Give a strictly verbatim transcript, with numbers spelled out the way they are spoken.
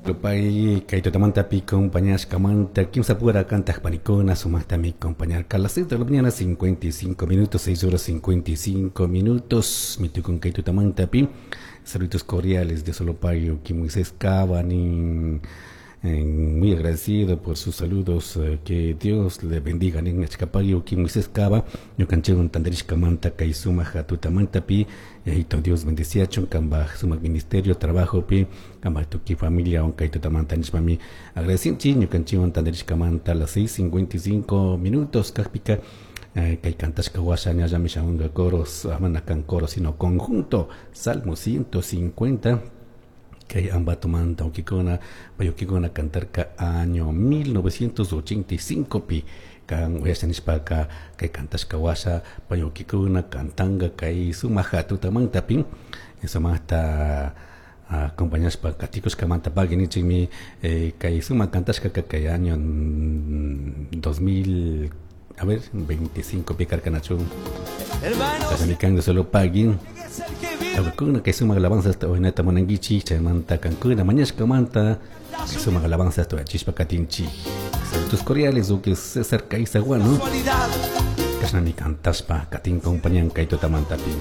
Pay kay tutamantapi compañashkamanta kimsapura kantaq panikuna sumaqtami acompañarka a las seis de la mañana cincuenta y cinco minutos, seis horas cincuenta y cinco minutos mitukun kay tutamantapi. Saludos cordiales de Solopayo que Moisés Cavani, muy agradecido por sus saludos, eh, que Dios le bendiga en Achcapayo que Moisés Cava ñukanchikwan tantarishkamanta kay sumaq tutamantapi. Yayito Dios bendeciachun kambaj sumaq ministerio trabajo pi, kambaj tukuy familia kay tutamanta nishpami agradecinchik ñukanchikwan tantarishkamanta. A las seis cincuenta y cinco minutos kajpika, eh, kay kantashka washa ñallami shamunga coros, mana kan coros sino conjunto Salmo ciento cincuenta kay Ambatomanta wawkikuna payukikuna cantarka año mil novecientos ochenta y cinco pi kan uyasha nishpaka kay kantashka washa payukikuna cantanga kay sumaq tutamantapi sumaqta acompañashpa katikushkamanta pagui nichikmi. eh, kay sumaq kantashkaka kay año dos mil, a ver, veinticinco pi karkanachu. Hermanos, kan solo pagui es el que vive. Kuna kay sumaq alabanza waynata munankichik chaymanta kankuna mañashkamanta kay sumaq alabanza chispa katinchik. Saludos cordiales uke César Caizaguano. Casualidad. Kashnami kantashpa katin compañan kay tutamantapi.